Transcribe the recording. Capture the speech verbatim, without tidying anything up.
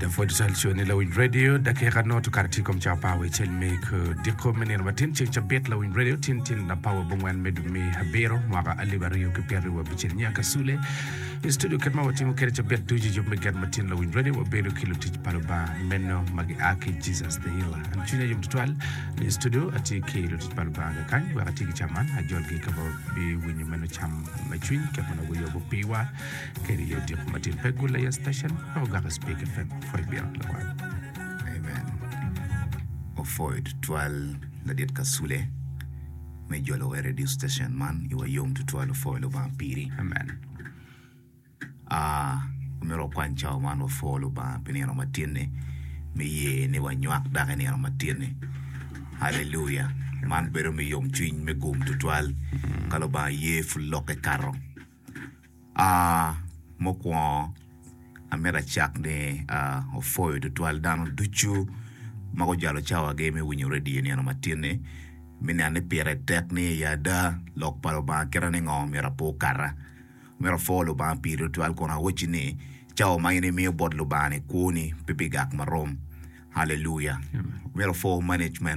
Apwoyo tutwal co ni Lawiny Radio dakika noto kare tye kom cawa apar wiye acel me kodiko me nino matin ceng cabit Lawiny Radio tin tin apar wa abongwen me dwe me abiro mwaka alip aryo ki pyeraryo wa abicel nya kasule i studio kit ma watimo kwede cabit ducu i yub me get matin Lawiny Radio wabedo ki lutic pa Lubanga meno ma gia ki Jesus the Healer an cwinya yom tutwal ni i studio atye ki lutic pa Lubanga kakany wek ati ki cam man ajolgi ka wabiwinyo meno cam me cwiny kit ma nongo guyubo piwa kede i odiko matin pe gul aye station wek ogak i Speak FM pwoy bino lakwat. Amen. Opwoyo tutwal ladit Kasule me jolo wa i radio station man iwa yom tutwal opwoyo Lubanga piri. Amen. Ah, omyero wakwany cawa man wapwo Lubanga pi nino matin-ni me ye ni wanywak dok i nino matin-ni. Haleluya! Man bedo me yomcwiny me gum tutwal ka Lubanga ye pud lokke kato. Ah, mukwongo amito acak ni ah, opwoyo tutwal dano ducu ma gujalo cawagi me winyo redio nino matin-ni me neno ni pire tek ni i ada lok pa Lubanga kite ni ngo myero ape okata. Myero apwo Lubanga piri tutwal kun awacci ni cawa ma in imiyo bot Lubanga-ni kwoni pe bigak marom. Haleluya! Myero apwo management.